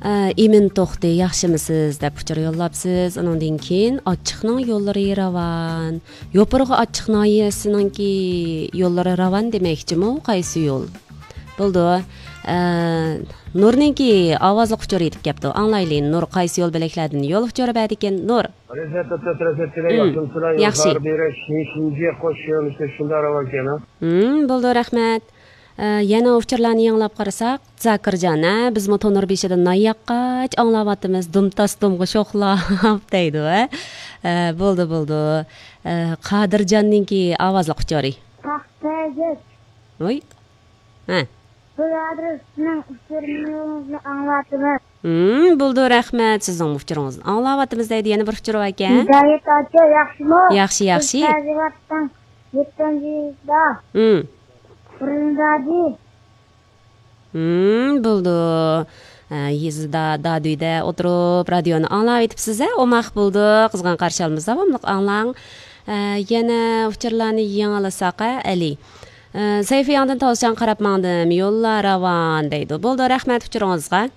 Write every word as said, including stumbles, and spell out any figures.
ئىمىن توختى، ياخشىمۇسىز دەپ ئۇچۇر يوللاپسىز. ئۇنىڭدىن كېيىن ئاچچىقنىڭ يوللىرى راۋان. يوپۇرغا ئاچچىق ناھىيەسىنىڭكى يوللىرى راۋان دېمەكچىمۇ؟ قايسى يول؟ بولدى. ئە، نۇرنىڭكى ئاۋازلىق ئۇچۇر يېتىپ كەپتۇ. ئاڭلايلى، نۇر قايسى يول بۆلەكلەردىن يول ئۇچۇرى بەردىكىن؟ نۇر. رەزىيەت ئوتتۇرا تەرەپتىكىلەر ياخشىمۇسىلەر؟ ياخشى. يوقار بېرىش، شىنجى قوش يۆنىلىشتە شۇنداق راۋان ئىكەن، ھە؟ ھىم، بولدى، رەھمەت. ئە، يەنە ئۇچۇرلارنى يېڭىلاپ قارىساق، زاكىرجان، ھە، بىزمۇ تونۇر بېشىدا نان ياققاچ ئاڭلاۋاتىمىز، دۇم تاس دۇمغا شوخلاپ دەيدۇ، ھە. ئە، بولدى، بولدى. ئە، قادىرجاننىڭكى ئاۋازلىق ئۇچۇرى. پاختەگەك. ۋاي. ھە. بۇ يەردە سىزنىڭ ئۇچۇرىڭىزنى ئاڭلاۋاتىمىز. ھىم، بولدى، رەھمەت. سىزنىڭ ئۇچۇرىڭىزنى ئاڭلاۋاتىمىز دەيدۇ. يەنە بىر ئۇچۇر باركەن. ھىدايەت ئاچا، ياخشىمۇ؟ ياخشى، ياخشى. بىز تازىۋاتقان يەتتىنچى يىلدا. ھىم. بۇرۇندادى. ھىم، بولدى. ھە، يېزىدا، دادۈيدە ئولتۇرۇپ رادىيونى ئاڭلاۋېتىپسىز، ھە؟ ئوماق بولدى. قىزغىن قارشى ئالىمىز، داۋاملىق ئاڭلاڭ. ھە، يەنە ئۇچۇرلارنى يېڭىلىساق، ھە، ئەلى. ھە، سەيفى ياڭدىن تالىشىشقا قاراپ ماڭدىم، يوللار راۋان دەيدۇ. بولدى، رەھمەت ئۇچۇرىڭىزغا.